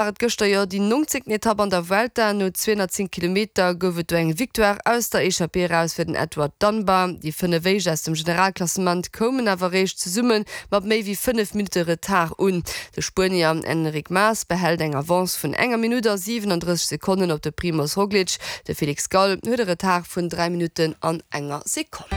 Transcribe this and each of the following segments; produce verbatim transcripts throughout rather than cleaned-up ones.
War et gëschter jo déi nongzéngten Etapp an der Vuelta. No zweehonnertzéng Kilometer gouf et do eng Victoire aus der Echappée eraus fir den Edward Dunbar. Déi fënnef éischt aus dem Generalklassement koumen awer eréischt zesumme mat méi wéi fënnef Minutte Retard un. De Spuenier Enric Mas behält eng Avance vun enger Minutt a siwenandrësseg Sekonnen op de Primoz Roglic. De Felix Gall huet e Retard vun dräi Minutten an enger Sekonn.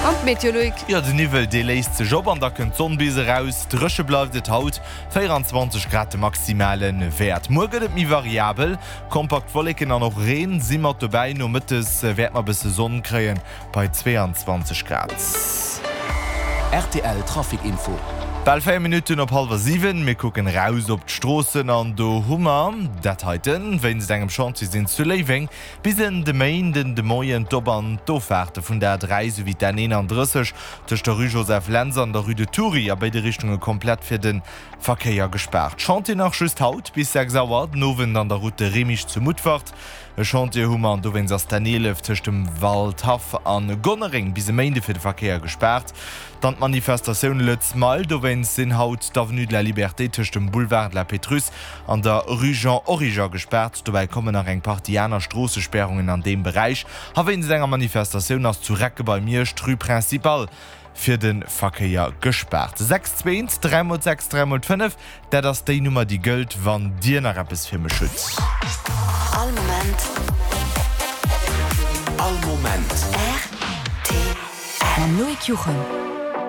An d'Meteo, Loïc? Jo, den Niwwel dee léist sech op an da kënnt d'Sonn bis eraus. Dréche bleift et haut, véierundzwanzeg Grad de maximale Wäert. Muer gëtt et méi variabel, kompakt Wolleken an och Reen si mat dobäi. Nomëttes wäerte mer e bësse Sonn kréien bei zweeanzwanzeg Grad. Rtl Trafic Info. Bal véier Minutten op hallwer siwen, mir kucken eraus op d'Stroossen an do hu mer dat heiten. Wéinst engem Chantier sinn zu Léiweng bis en de Méinden de Moien d'Op an d'Offaarte vun der A dräi souwéi d'N eenandrësseg tëscht der Rue Joseph Lentz an der Rue de Thury a béide Richtunge komplett fir de Verkéier gespaart. Chantier nach just haut bis sechs Auer den Owend an der Route de Remich zu Mutfert. E Chantier hu mer an dowéinst ass d'N eelef tëscht dem Waldhaff a Gonnereng bis e Méinde fir de Verkéier gespaart. Dann d'Manifestatioun Lëtz Mile, dowéinst sinn haut d'Avenue de la Liberté tëscht dem Boulevard de la Pétrusse an der Rue Jean Origer gespaart. Dobäi kommen nach eng Partie aner Stroossespärungen an deem Beräich. A wéinst enger Manifestatioun ass zu Recke bei Miersch d'Rue Principale fir de Verkéier gespaart. Sechs zwee eent, dräi mol sechs, dräi mol fënnef, dat ass déi Nummer déi gëllt, wann Dir nach eppes fir mech hutt. All Moment. All Moment. Rtl. Mam Loïc Juchem.